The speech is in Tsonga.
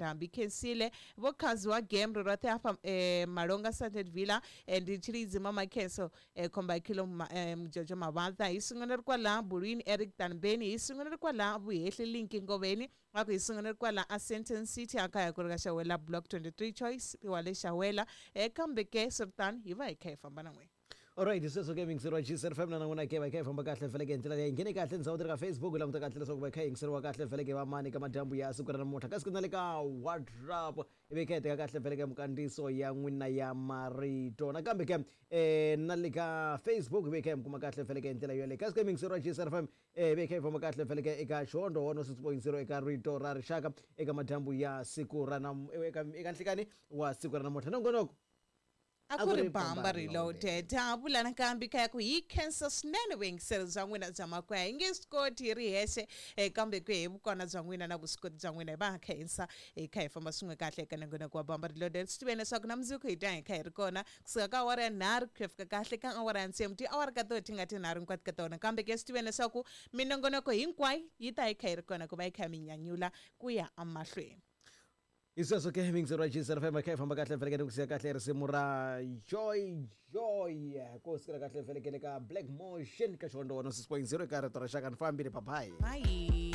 Ndhambi Khensile Vho Khazi wa Game ro roṱhe hafha Malonga Sunset Villa ndi Tshilidzi Mama Khenso Khomba Khilo Mjojo Mavhaḓa hi sungula ri kwala Bulwini Eric Tanbeni hi sungula ri kwala Vuhehli Linki Ngoveni a ku hi sungula ri kwala a Sandton City a kaya ku ri ka Xawela Block 23 Choice wa le Xawela kambe ke swiritano hi va hi kha hi famba na n'wina. Alright, sweswo ke yingiseriwa GCR5 na n'wina ke va kha hi famba kahle vhele ke hi ndlela leyi nghene kahle ndhawu ti ri ka Facebook languta kahle leswaku va kha hi yingiseriwa kahle vhele ke va mani ka madyambu ya siku ra namuntlha kasi ku na le ka WhatsApp ivi kha hi teka kahle vhele ke minkandziyiso ya n'wina ya marito nakambe ke na le ka Facebook ivi kha hi mi kuma kahle vhele ke hi ndlela yoleyo kasi ke yingiseriwa GCR5 ivi kha hi famba kahle vhele ke eka Xihondlo 106.0 eka Rito ra Rixaka eka madyambu ya siku ra eka eka nhlikani wa siku ra namuntlha nongonoko A ku ri Bamba Reloaded. Ha vula nakambe kaya ku hi khensa swinene vuyingiseri bya n'wina bya makwaya. Hi nge swi koti hi ri hexe kambe ku hi vukona bya n'wina na vuswikoti bya n'wina hi va khensa hi kha hi famba swin'we kahle eka nongonoko wa Bamba Reloaded. Swi tiveni leswaku na mundzuku hi ta hi kha hi ri kona kusuka ka awara ya nharhu ku ya fika kahle ka awara ya tsevu tiawara ka tona ti nga tinharhu hinkwato ka tona. Kambe ke swi tiveni leswaku minongonoko hinkwayo yi ta yi kha yi ri kona ku va yi kha yi mi nyanyula ku ya emahlweni. Hi sweswo ke miyingiseri wa GCR FM kha hi famba kahle vhelekele ku siya kahle risimu ra Joy Joy ku sukela kahle vhelekele ka Black Motion ka xivandla 106.0 eka rito ra xaka ni fambile bye bye. Bye.